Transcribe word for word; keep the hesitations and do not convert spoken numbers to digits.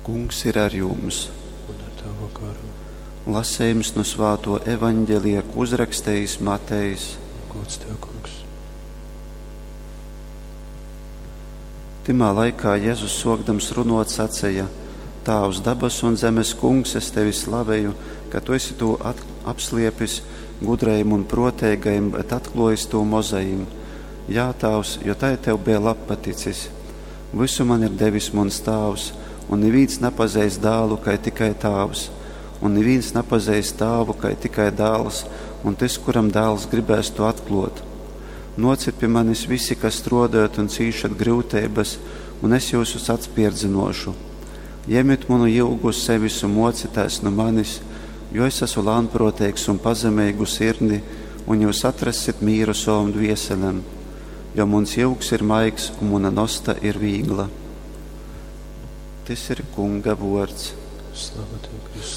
Kungs ir ar jums. Un ar tavu garu. Lasījums no svāto evaņģelija, ko uzrakstījis Matejs. Gods tev, kungs. Timā laikā Jēzus sokdams runot sacīja: Tāvs dabas un zemes kungs, es tevi slavēju, ka tu esi to apsliepis gudrajiem un protēgajiem, bet atklājis to mozajiem. Jā, Tāvs, jo tai tev bija labpaticis. Visu man ir devis mans Tāvs, un neviens nepazīst dēlu, kai tikai Tāvs, un neviens nepazīst Tāvu, kai tikai dēls, un tas, kuram dēls gribēs to atklot. Nociet pie manis visi, kas strādājat un cīšat grūtības, un es jūsus atspierdzinošu. Ņemiet manu jūgu uz sevis un mocieties no manis, jo es esmu lānproteigs un pazemīgu sirdi, un jūs atrasit mīru savam dvieselēm, jo mans jūgs ir maigs un mana nosta ir vīgla. Tys ir Kunga vuords. Slava tev, Kristu.